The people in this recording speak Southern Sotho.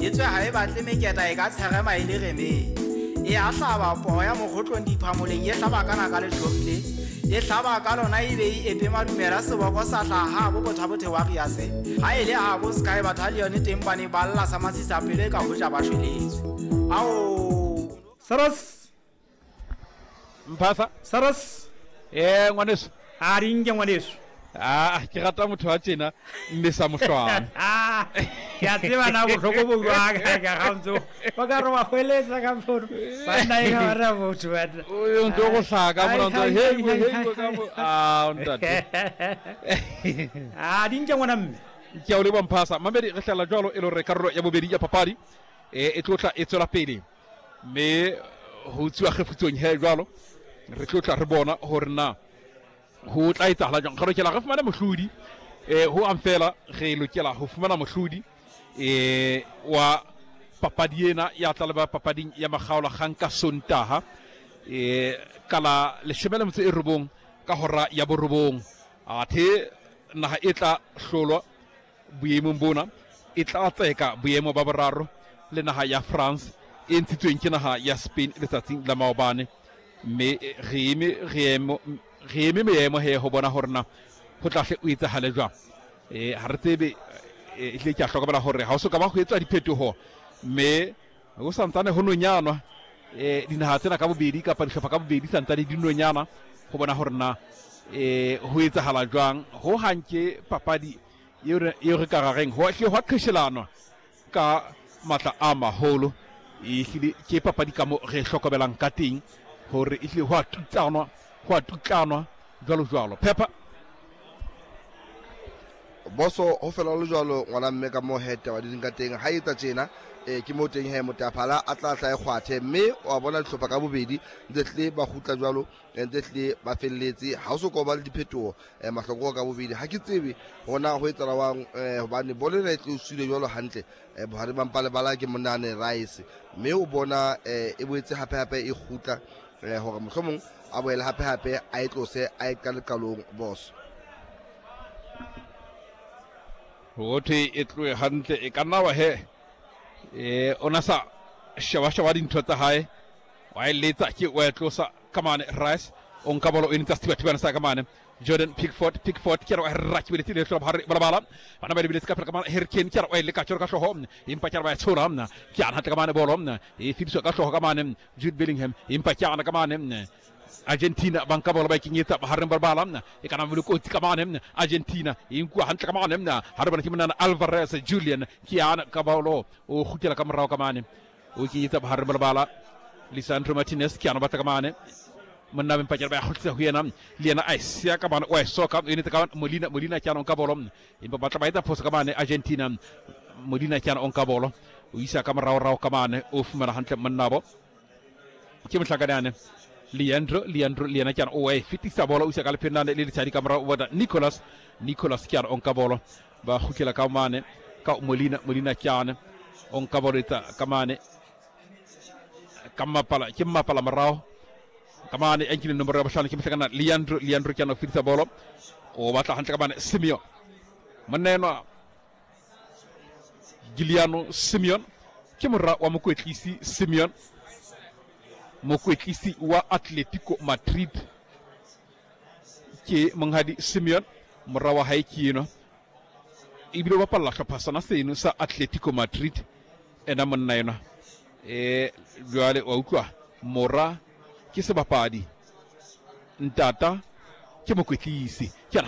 Etswe ha e batle meketa e ka tsherema e le remeng. E a hlaba poo ya mokgotlong diphamoleng e hlaba ka naka le tlhorile. E hlaba ka lona e be e epe madumela seboko sa hlaha habo bothabothe wa riase. Ha e le habo Sky Battalion teng ba ne ba lla sa masisapelo e ka hoja ba shweletswe. Ao! Saras! Mphasa. Saras. Eh ngwaneso. A di nke ngwaneso. Ah, ke rata motho wa tjena mme sa mohlwana. Ke a tseba na bohloko bo jwang ka ga ntso. Ba ka re wa hweletsa ka mfono. Banna e ka ba motho ba. O ntse go hlaka mona ntse hey hey ka mo. Ah, ntate. Ah, di nke ngwana mme. Ke a o leboha Mphasa. Mamedi re hlala jwalo e le hore karolo ya bobedi ya papadi e tlo tla e tswela pele. Mme ho tsuwa kgefutsong he jwalo re tlo tla re bona hore na ho tla etsahala jwang. Re lokela re fumane mohlodi ho ang fela re lokela ho fumana mohlodi wa papadi ena ya tla leba papading ya makgaola kgang ka Sontaha ka la 19 ka hora ya 9. Athe naha e tla hlolwa boemong bona e tla tseka boemo ba boraro le naha ya France e ntshitsweng ke naha ya Spain letsatsing la maobane. Mme re eme re eme meemo he ho bona hore na ho tla hle o etsahale jwang. Ha re tsebe, ehlile ke a hlokomela hore ha o so ka ba ho etswa diphetoho, mme ho santsane ho nonyanwa dinaha tsena ka bobedi kapa dihlopha ka bobedi santsane di nonyana ho bona hore na ho etsahala jwang. Ho hang ke papadi eo re ka rareng ho hlile hwa qheshelanwa ka matla a maholo. Ehlile ke papadi ka mo re hlokomelang ka teng hore ehlile ho a tutsanwa, ho a tutlanwa jwalo jwalo. Phepha Boso ho fela le jwalo ngwana mme ka mo he taba di ka teng ha etsa tjena ke mo teng he motaphala a tla tla e kgwathe mme wa bona dihlopha ka bobedi ntse tle ba kgutla jwalo ntse tle ba felletse ha o so ka ba le diphetoho mahlokoko ka bobedi ha ke tsebe hona ho etsala wang hobane bolo ena e tlo sule jwalo hantle bohare ba mpa lebala ke monane Rice mme o bona e boetse hape hape e kgutla hore mohlomong a boele hape hape a e tlose a e qale qalong boss. Ho thwe e tlohe hantle e ka nna wa he o na sa sheba sheba dintho tsa hae wa e letsa ke wa e tlosa ka mane Rice o nka bolo o e ntsha sethibathibana sa ka mane Jordan Pickford Pickford ke re wa rra ke beletse le hlola bohare balabala bana ba lebeletse ka pele ka mane Harry Kane ke re wa e leka tjoro ka hloho empa ke re ba e tshola ke ana hantle ka mane bolo e fediswa ka hloho ka mane Jude Bellingham empa ke ana ka mane Argentina ba nka bolo ba e kenyetsa bohareng ba lebala e kana le kotsi ka mane Argentina e nkuwa hantle ka mane ha re bona ke monana Alvarez Julian ke ana ka bolo o kgutlela ka morao ka mane o kenyetsa bohareng ba lebala Lisandro Martinez ke ana batla ka mane monna ba mpakela ba ya kgutlisa ho yena le yena a e siya ka mane o a e soka o enetse ka Molina Molina ke ana o nka bolo empa batla ba etsa phoso ka mane Argentina Molina ke ana o nka bolo o isa ka morao rao ka mane o fumana hantle monnabo ke mohlakanyane Leandro Leandro le yena ke ana o e fetisa bolo o isa ka lepheng lane le letshadi ka morao o bona Nicolas Nicolas ke ana o nka bolo ba kgutlela ka mane ka Molina Molina ke ana o nka bolo etsa ka mane ka mmapala ke mmapala morao ka mane a nkile nomoro ya bohlano ke mohlakana Leandro Leandro ke ana o fetisa bolo o batla hantle ka mane Simeon monna enwa Giuliano Simeon ke mora wa mokwetlisi Simeon mokwetlisi wa Atletico Madrid ke monghadi Simeon mora wa hae ke enwa ebile o bapalla hlopha sona seno sa Atletico Madrid ena monna enwa jwale wa utlwa mora ke sebapadi ntata ke mokwetlisi ke ana.